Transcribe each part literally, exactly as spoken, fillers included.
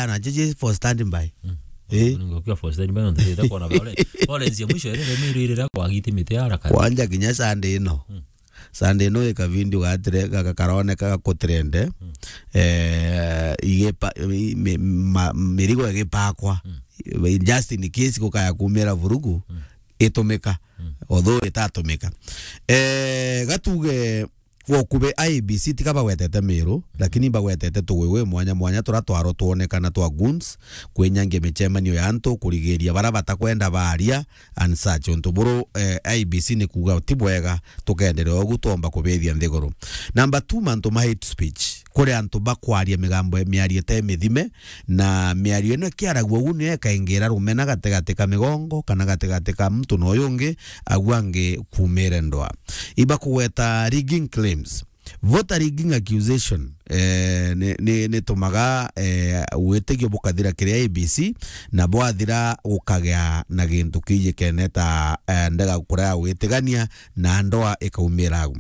ana jeje for standby. Mm. Eh? Ningokia for standby, no ndita kuona vale. Pole, nzia mwisho, ile mimi ile kwa giti miti haraka. Kwanja kinya Sunday ino. Mm. Sunday ino ika video gatire, ga-, ga-, karoneka gakutrende. Mm. Eh, igepa-, i-, mi-, ma-, mirigo igipakwa. Mm. Just in case gukaya kumira vurugu, mm, itumika. Mm. Although itatumika. Eh, gatuge, gwa ukube I E B C tiga bagwetete Miru, lakini bagwetete tuguyu mwanya mwanya turia twaro twonekana twa goons, kwinyangia micemanio ya antu, kurigiria baria batakwenda baria and such. Untu buru, eh, I E B C ni kuuga ti bwega, tukenderea ugu twomba kubithia nthiguru. Number two, mantu ma hate speech. Kuri antu bakwaria migambo, miario ite mithime, na miario ino ikiaragua ugu niyo ikaingira rumena gatigati ka migongo kana gatigati ka muntu na uyu ungi, agu angi kumire ndwa. Ibakugweta rigging claims. Voter rigging accusation, eh, ni, ni, nitumaga, eh, witigio bukathira kiri I E B C, na bwathira gukagia na gintu kiji kene ta, eh, ndega kuria gwitigania na ndoa ikaumira au.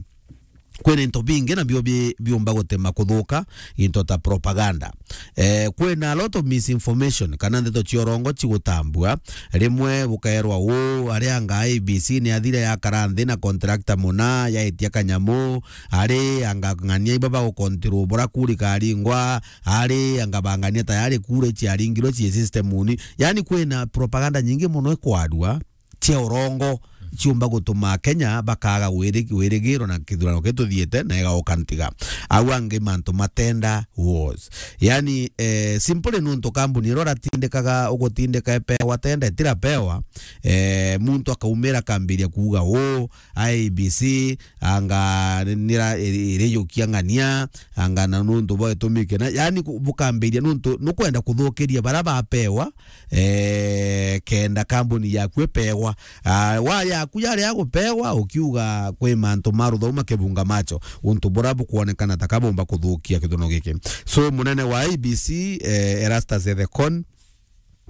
Kwina into bingi nabio bi-, biumba gutema kuthuka, into ta propaganda. Eh, kwina a lot of misinformation, kana ndeto cia urongo cigutambua. Rimwe bukaerwa uu, ari anga I E B C ni athire yakara nthi na contractor muna, yaitia kanyamu, ari anga ng'ania iba bagukontirwo bura kuri karingwa, ari anga bang'ania tayari kura iciaringirwe cii system uni. Yani kwina propaganda nyingi muno ikwarua cia urongo ciumba gutuma Kenya bakaga wiri-, wirigiro na kithurano kituthiite na igauka ntiga. Au angi mantu matenda was. Yani, eh, simply nuntu kambuni iro ratindikaga ugutindika epewa tenda itirapewa, eh, muntu akaumira akambiria kuuga uu, I E B C, anga nira iri-, irijukia ng'ania, anga na nuntu bwa gitumi kina. Yani ku-, bukambiria nuntu nukwenda kuthukiria bara bapewa, eh, kenda kambuni yaku ipewa. Ah, wa yaku yari ya gupewa, ukiuga kwi mantu ma ruthau makibunga macho, untu bura bukwonekana ta kabumba kuthukia kithuno giki. So, munene wa I E B C, eh, Erastus Ethekon,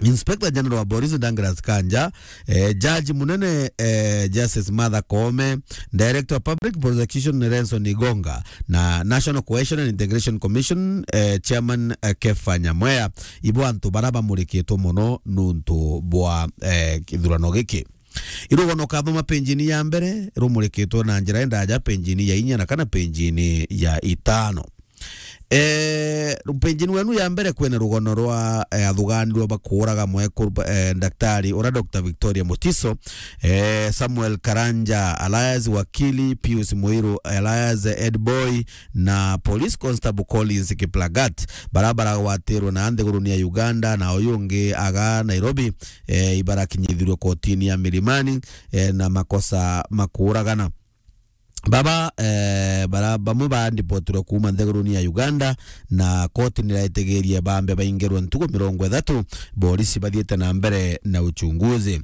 Inspector General wa Police Douglas Kanja, eh, Judge Munene, eh, Justice Martha Koome, Director of Public Prosecution Nelson Igonga, na National Cohesion and Integration Commission, eh, Chairman, eh, Kefa Nyamweya, ibo antu bara bamurikitwe mono nuntu bwa, eh, kithurano giki. Irugano kathoma penjini ya mbere rumurikitwe na njira indaja penjini ya inya na kana penjini ya itano. Eh, penjini wenu ya mbere kwina rugano rwa, eh, athuganirwe bakuuraga mwekuru, eh, daktari ura Doctor Victoria Mutiso, eh, Samuel Karanja alias Wakili, Pius Muiru alias Ed Boy, na Police Constable Collins Kiplagat, bara baragwatirwe na nthiguruni ya Uganda, na uyu ungi aga Nairobi, eh, ibarakinyithirwe kotini ya Milimani, eh, na makosa makuuragana. Baba, eh, bara-, bamwe baandipotirwe kuuma nthiguruni ya Uganda, na koti niraitigirie baambe baingirwe ntugu mirongo ithatu, borisi bathiite na mbere na uchunguzi.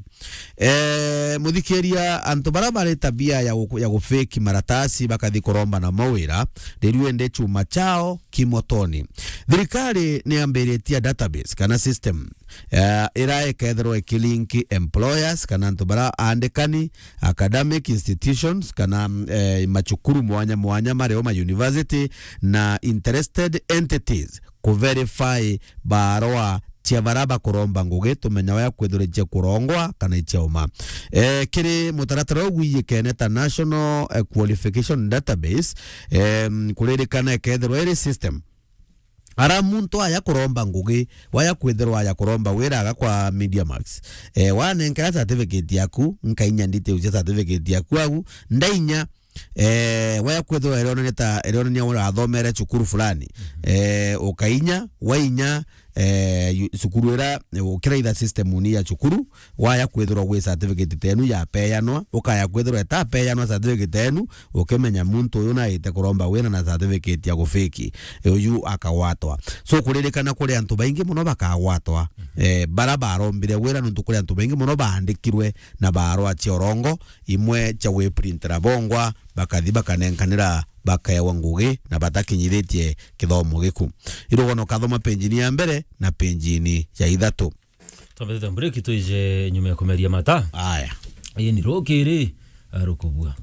Eh, muthikiria, antu bara bari tabia ya gu-, ya gufake maratasi bakathi kuromba na mawira, riu indi chuma chao kimotoni. Thirikari niambiritie database kana system, eh, ira ikethirwa ikilink employers kana antu bara aandikani, academic institutions kana, eh, machukuru mwanya mwanya mario ma university na interested entities ku verify barua cia bara bakuromba ngugi, tumenya waya kwithirwa icia kurongwa kana icia uma. Eh, kiri mutaratara ugwijikene ta National, eh, Qualification Database, em, kuririkana ikethirwa iri system. Ara muntu aya kuromba ngugi, waya kwithirwa aya kuromba wira aga kwa Media Max. Eh, wanenkera certificate yaku, nkainya details cia certificate yaku au, ndainya, eh, waya kwithirwa irionania ta, irionania urathomere cukuru fulani. Mhm. Eh, ukainya, wainya, eh, yu-, cukuru ira, eh, ukira itha system ni ya cukuru, waya kwithirwa gwi certificate tenu yapeanwa, ukaya kwithirwa itapeanwa certificate tenu, ukimenya muntu uyu naite kuromba wira na certificate ya gufiki, uyu akagwatwa. So, kuririkana kuri antu baingi muno bakagwatwa, mhm, eh, bara barombire wira, nuntu kuri antu baingi muno baandikirwe na barua cia urongo, imwe cia gwiprintira bongwa, bakathi bakanenkanira, bakaewa ngugi na batakinyithitie kithomo giku. Irugono kathoma penjini ya mbere na penjini ya ithatu. Twambite break, twije nyuma ya kumeria mata. Aya. Ii ni rukiri, eh, rukubua.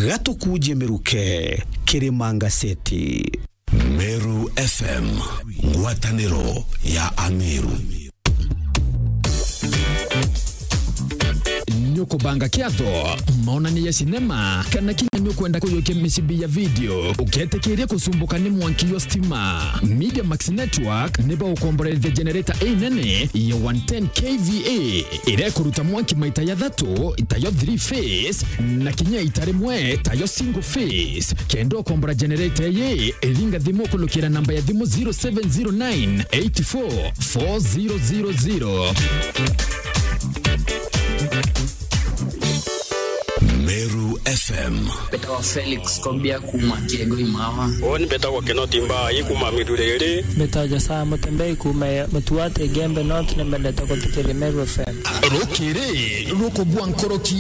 Gatukuje miruke, Kirima Ngaseti. Meru F M, ngwataniro ya Ameru. Nukubanga kiatho, maonani ya sinema, kana kinya nukwenda kuyukia micibi ya video, uketikiria kusumbuka ni mwanki yo stima. Media Max Network nibo ukomborerithia generator inene ya one ten K V A, iria ikuruta mwanki maita ya thatu, itayo three phase, na kinya ita rimwe, tayo single phase. Kenda ukombora generator iyi, ringa thimu ukulukira namba ya thimu zero seven zero nine eight four four zero zero zero. Meru F M. Mbetawa Felix Kobia kuuma Kiego Imawa. Uuni mbetagwa Kinoti Mbai kuuma Miruriri. Mbetawa Josia Mutembei kuuma Mutuati Igembe North, ni mbendete guthikiria Meru F M. Rukiri rukubua nkoroki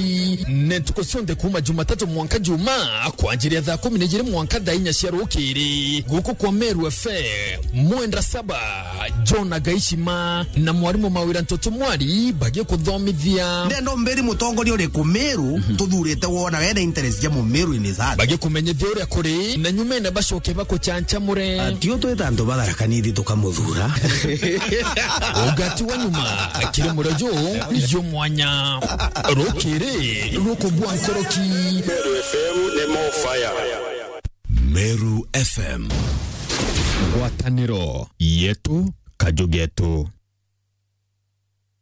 ni ntuku cionthe kuuma Jumatatu mwanka Juma, kwanjiria thaa kumi na ijiri mwanka thaa inya cia rukiri. Guku kwa Meru F M, Mwenda Saba, John Agaishima na mwarimu Mawira Ntoto Mwari bagikuthomithia. Ndenda umbiri mutongoria uriku Meru tuthurite wona wena interest ja Mumeru in his heart. Bagikumenyithia uria kuri, na nyumene bacoke bakuchanchamure. Atio twita antu batharaka nithi tukamuthura. Ugati wa nyuma kiri murejo yo mwanya. Rukiri rukubua nkoroki. Meru F M ni more fire. Meru F M. Ngwataniro yetu, kaju getu.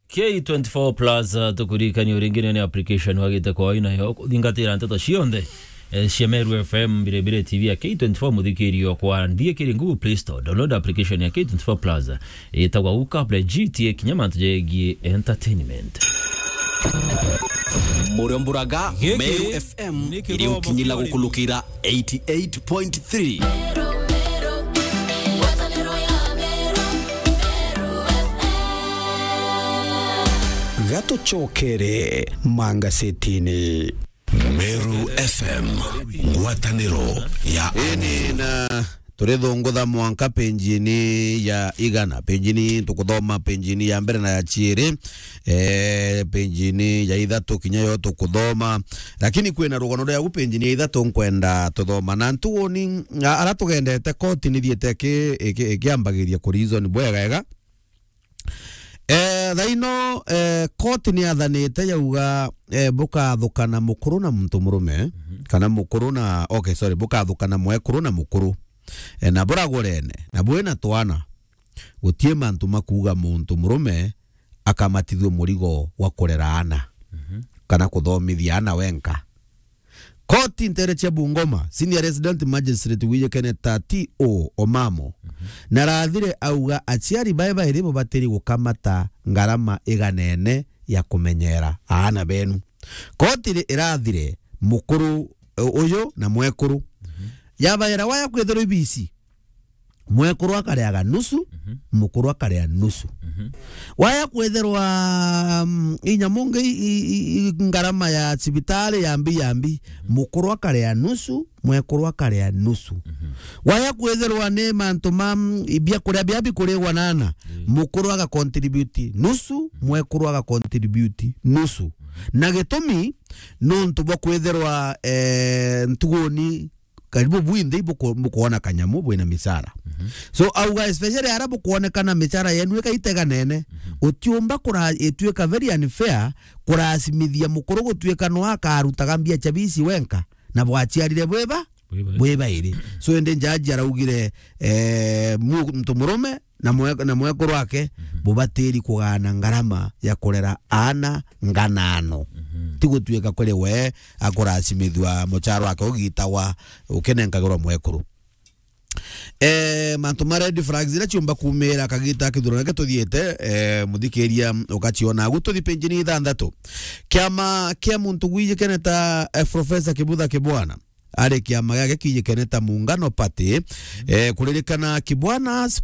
K twenty-four plus, uh, tukuririkania uringi ni application wagite kwa aina yo kuthingatira nteto cionthe, eh, cia Meru F M, Biribiri T V ya K twenty-four, muthikirio kwa nthie kiri Google Play Store. Download application ya K twenty-four plus, eh, itagwa Uka Play G T A kinya mantu jegie entertainment. Muriomburaga Meru F M iri ukinyila gukulukira eighty-eight point three. Gatucokere mangasetini. Meru F M, ngwataniro ya Ini na turithungutha mwanka penjini ya igana. Penjini tukuthoma penjini ya mbere na ya chiiri. Eh, penjini ya ithatu kinya yo tukuthoma. Lakini kwina rugano rwaku penjini ya ithatu nkwenda tuthoma. Na ntuuni, a-, ara tugendete koti nithiite ki-, iki-, ikiambagiria ku reason bwega ega. Eh, thaino, eh, koti ni yathanite yauga, eh, bukathukana mukuru na muntu murume, kana mukuru na, okay, sorry, bukathukana mwekuru na mukuru. Eh, na buragurene, na bwina twana. Gutie mantu makuuga muntu murume akamatithua murigo wa kurera aana, kana kuthomithia aana wenka. Koti ntere cia Bungoma, Senior Resident Magistrate wijikene ta T O Omamo, na rathire auga aciari bae bairi bubatiri gukamata ngarama iganene ya kumenyera aana benu. Koti ri-, irathire mukuru, u-, uyu na mwekuru. Yabaera waya kwithirwa ibici. Mwekuru akareaga nusu, mukuru akarea nusu. Waya kwithirwa, mm, inya mungi i, i, i, ngarama ya cibitari ya mbi ya mbi, mukuru akarea nusu, mwekuru akarea nusu. Waya kwithirwa ni mantu ma, mm, i biakuria bia bikurigwa na aana, mukuru aga contribute nusu, mwekuru aga contribute nusu. Na gitumi, nontu bwa kwithirwa, eh, ntuguni karibu bwinthe ibuku-, bukwona kanyamu bwina micara. So, auga especially ara bukwonekana micara yenu ikaiteganene, utiumba kura-, ituika very unfair kurasimithia mukuru gutuika no akarutaga mbia cia bici wenka na bwaciarire bwiba, bwibairi. So, indi jaji araugire, eh, mu-, muntu murume na mwe-, na mwekuru wake bubatiri kugana ngarama ya kurera aana nganano. Ti gutuika kuri we akurasimithua muchara wake ugitagwa ukinenkagirwa mwekuru. Eh, mantu ma red flags iria ciumba kumira kagita kithurano giki tuthiite, eh, muthikiria ugaciona agu tuthi penjini ithanthatu. Kiama kia muntu gwijikene ta, eh, Professor Kibutha Kibwana, ari kiama giake kijikene ta Muungano Party, eh, kuririkana Kibwana's